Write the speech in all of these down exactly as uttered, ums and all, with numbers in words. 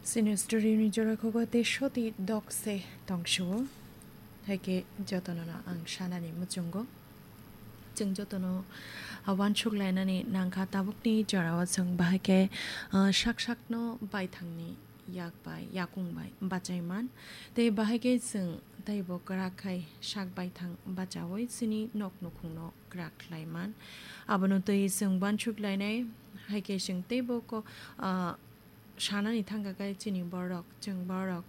Chini story ni jora kogo tei soti dok se tongsuo. Hai khe jotono no ang sanani muchungo. Chwng jotono, ah, uansuk lainani nangkha tabukni jorao chwng bahai khe, ah, sak sakno baithangni yak bai, yakung bai bachai man. Tei bahai khe chwng teibo kwrak khai sak baithang bachaui chini nok nukhungno kwrak khlai man. Abono twi chwng uansuk lainai, hai khe chwng teibo ko, ah, sanani thangkha khe chini borok, chwng borok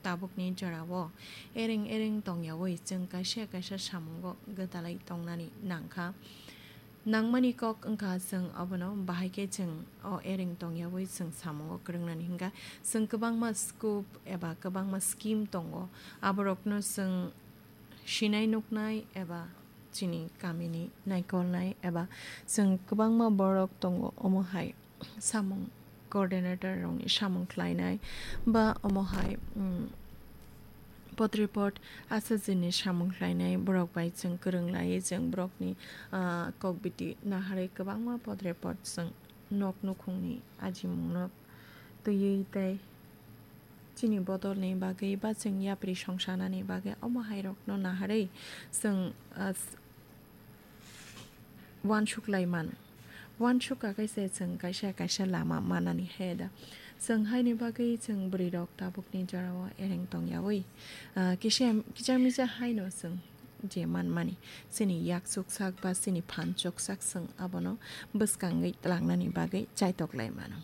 tabukni jorao ereng ereng tongyaui chwng kaisa kaisa samungo gwdalai tongnani nangkha. Nangmani kok wngkha chwng abono bahai khe chwng o ereng tongyaui chwng samungo kwrwngnani hwnkha. Chwng kwbangma scope eba kwbangma scheme tongo, aborokno chwng sinai nuknai eba chini kamini naikolnai eba chwng kwbangma borok tongo, omo hai samung coordinator rokni samung khlainai ba omo hai, um, potripot asajini samung khlainai borok bai chwng kwrwng laiwi chwng borokni, ah, kokbiti naharwi kwbangma potripot chwng nok nukhungni ajimungno twiwi tei chini bodolni bagwi ba chwng yapri songsanani bagwi omo hairokno naharwi chwng, ah, s-, uansuk lai mano. Uansuk kha khe se chwng kaisa kaisa lama manani he da. Chwng haini bagwi chwng bwrwirok tabukni jorao ereng tongyaui, ah, kisa, kisa misa haino chwng je manmani, chini yak chuksak ba chini phan chuksak chwng abono bwskangwi twlangnani bagwi chaitok lai mano.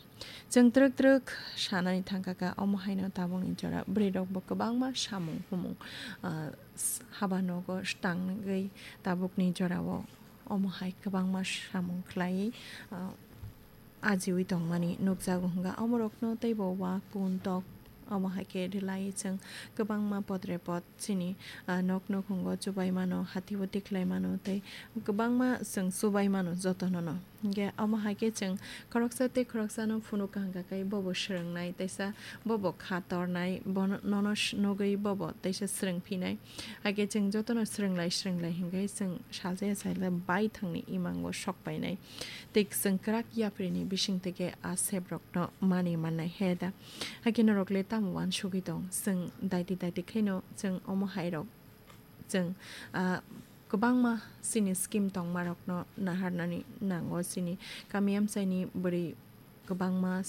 Chwng twrwk twrwk sanani thangkha kha, omo haino tabukni jora bwrwirokbo kwbangma samung humung, ah, s-, haba nogo tangwi tabukni jorao omo hai kwbangma samung khlaiwi, ah, ajiui tongmani nukjago hwnka. Omorokno teibo wa kun tok omo hai khe rwlai chwng kwbangma potrepot chini, ah, nok nukhungo chubai mano, hati-uti khlai mano tei kwbangma chwng chubai mano jotono no. Hwnkhe omo hai khe chwng khoroksa tei khoroksano phunuk kha hwnkha khe bobo swrwngnai, teisa bobo kha tornai, bono, nono s-, nugwi bobo teisa swrwngphinai. Hai khe chwng jotono swrwnglai swrwnglai hwnkhe chwng salsa ya salsa baithangni imango sok painai. Tei chwng kwrak yapri ni bising twi khe a sep rokno manwi mannai he da. Hai khe norok le tamo uansugwi tong? Chwng daiti daiti khe no chwng omo hai rok chwng, ah, kwbangma chini scheme tongma rokno naharnani nango. Chini kami amchaini bwrwi kwbangma